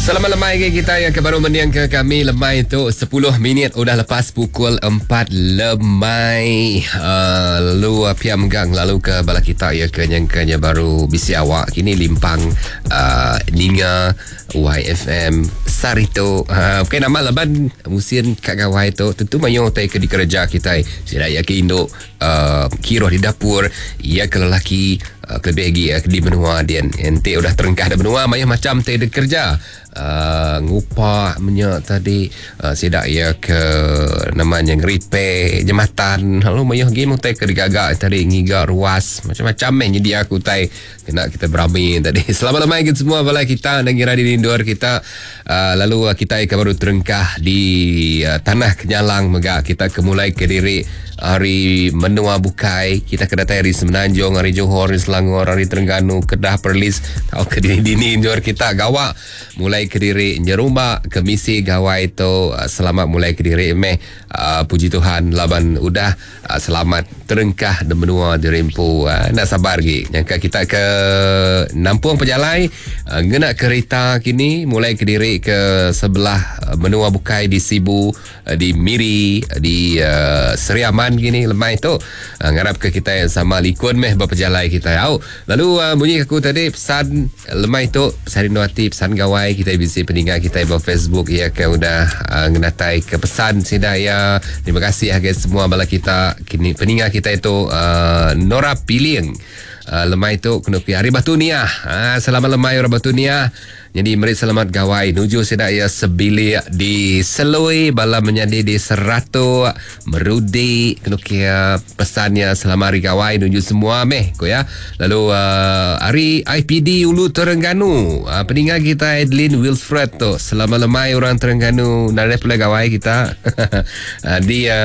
Selamat lemai ke kita yang ke baru mending ke kami lemai tu 10 minit udah lepas pukul 4 lemai uh, lalu uh, pia menggang lalu ke bala kita ya ke nyangkanya baru bisi awak kini limpang uh, ninga YFM sehari tu. Ha, bukan nama laban musim kat gawai tu tentu mayuh utai ke dikereja kita. Sida ya ke indu uh, kiruh di dapur, ya ke lelaki uh, kelebih lagi uh, di menua dian. Enti udah terengkah di menua mayuh macam te dikerja. Uh, ngupak menyak tadi uh, sida ya ke namanya ngeripe jematan lalu mayuh lagi utai ke digaga tadi ngiga ruas macam-macam meh nyedia aku utai Kena kita berami tadi. Selamat lemai ke semua bala kita dan ngira di lindur kita. Uh, lalu uh, kita ke baru terengkah di uh, Tanah Kenyalang mega kita ke mulai ke diri hari menua bukai. Kita ke datai hari Semenanjung, hari Johor, hari Selangor, hari Terengganu, Kedah, Perlis. Tau ke dini-dini endur kita gawa mulai ke diri nyerumba ke misi gawai tu. Uh, selamat mulai ke diri meh. Uh, puji Tuhan laban udah uh, selamat terengkah di menua diri empu. Uh, nak sabar lagi. Nyangka kita ke nampung pejalai uh, ngena kereta kini mulai ke diri ke sebelah uh, menua bukai di Sibu, uh, di Miri, uh, di uh, Seri Aman kini lemai tu. Uh, ngarap ke kita yang sama likun meh berpejalai kita. Au. Lalu uh, bunyi aku tadi pesan lemai tu pesan rindu ati pesan gawai kita bisi peninga kita ba Facebook iya ke udah uh, ngenatai ke pesan sida iya. Terima kasih agai semua bala kita kini peninga kita itu uh, Nora Piling. Uh, lemai tu kena pi hari Batu Niah. Uh, selamat lemai orang Batu Niah. Jadi meri selamat gawai nuju sida iya sebilik di Selui bala menyadi di Seratuk Merudi kena kia pesannya selamat hari gawai nuju semua meh ko ya. Lalu uh, hari IPD Ulu Terengganu uh, peninga kita Adeline Wilfred tu selamat lemai orang Terengganu nadai pulai gawai kita. uh, dia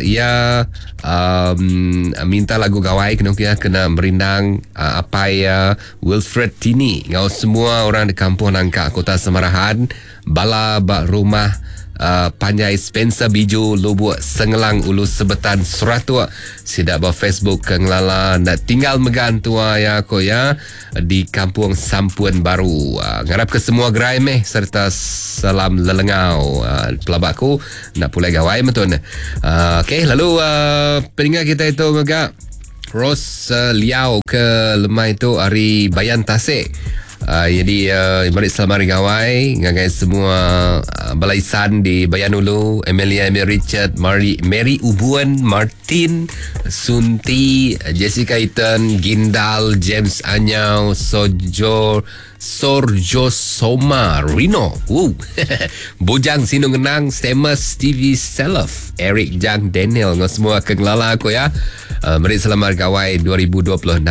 ya um, minta lagu gawai kena kia kena merindang uh, apai uh, Wilfred Tini ngau semua orang di Kampung Nangka Kota Semarahan bala ba rumah uh, Panjai Spencer Biju Lubuk Sengelang Ulu Sebetan Seratuk sida ba Facebook ke ngelala nak tinggal megan tua ya ko ya di Kampung Sampun Baru uh, ngarap ke semua gerai meh serta salam lelengau uh, pelaba aku nak pulai gawai betul uh, okey lalu uh, peninggal kita itu mega Rose uh, Liao ke lemai tu hari Bayan Tasik. Uh, jadi uh, mari selamat hari gawai ngagai semua uh, balaisan di Bayan Ulu, Emilia Emil Richard, Mary, Mary Ubuan, Martin, Sunti, Jessica Eaton, Gindal, James Anyau, Sojo, Sorjo Soma, Rino, Woo. Bujang Sinung Ngenang, Stemus, Stevie Self, Eric Jang, Daniel, ngau semua ke ngelala aku ya. Uh, meri selamat gawai 2026.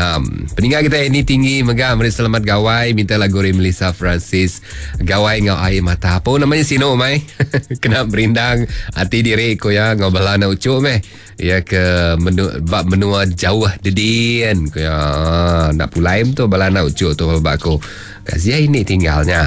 Peninggal kita ini tinggi mega meri selamat gawai minta lagu dari Melissa Francis gawai ngau air mata. Apa namanya sino mai? Kena berindang hati diri ko ya ngau bala na ucuk meh. Ya ke menu, bab menua jauh dedian ko ya nak pulai tu bala na ucuk tu bab aku. Kasihan ini tinggalnya.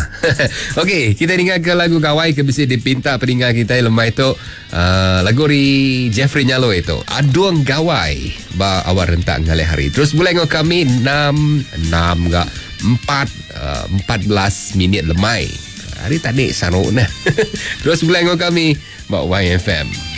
Okey, kita dengar ke lagu gawai ke bisi dipinta peninggal kita lemai tu. Uh, lagu ri Jeffrey Nyalo itu. Aduang Gawai ba awal rentak ngalih hari. Terus boleh ngau kami 6 6 ga 4 uh, 14 minit lemai. Hari tadi saruk nah. Terus boleh ngau kami ba YFM.